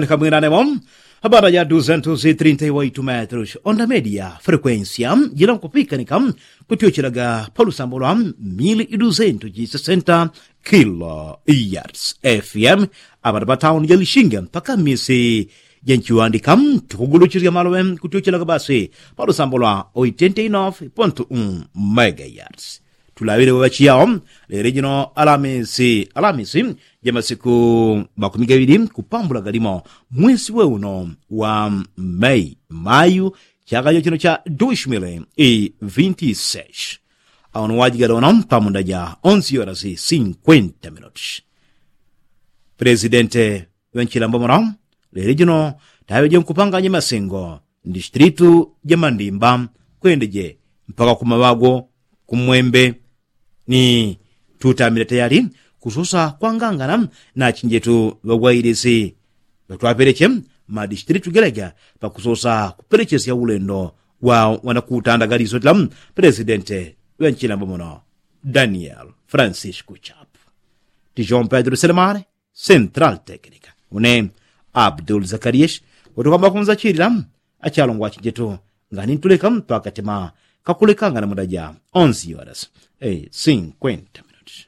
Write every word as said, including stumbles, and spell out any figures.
Kamwinanemo habara ja duzentos i trinta i waitu metros onda media frekuensia jila nkupikanika kutyochelaga palusambo lwa mili i duzentos i sesenta kilo yards fm. Abana pa tauni ja lishinga mpaka misi jenchiwandika tukuguluchisya malowe kutyochelaga basi palusambo lwa oitenta i nofe pontu un mega yards. Tulawile wewachiyao lele jino alamisi alamisi ja masiku makumi gaŵili kupambula galimo mwesi we uno wa mei mayu chaka chochino cha dushmile i vinti sesh. Auno wajigala uno pamunda ja onsi yorasi sinkwenta minuti. Presidente wenchilambo muno lele jino taŵe jenkupanganya masengo ndistritu ja mandimba kwendeje mpaka kumaŵago kumwembe ni tutamile tayali kusosa kwangangana na chinjetu ŵagwailisi ŵatwapeleche madistritu geleja pakusosa kupelechesya ulendo wa wanakutandagalisotila. Presidente wenchilambo muno daniel francisco chap tijon pedro selemane central technica une abdul zakariyesh utukwamba kunzachilila achalongwa achinjetu ngani ntuleka twakatema kakulekangana mudaja onsi yoras. Sinkwenta minuti.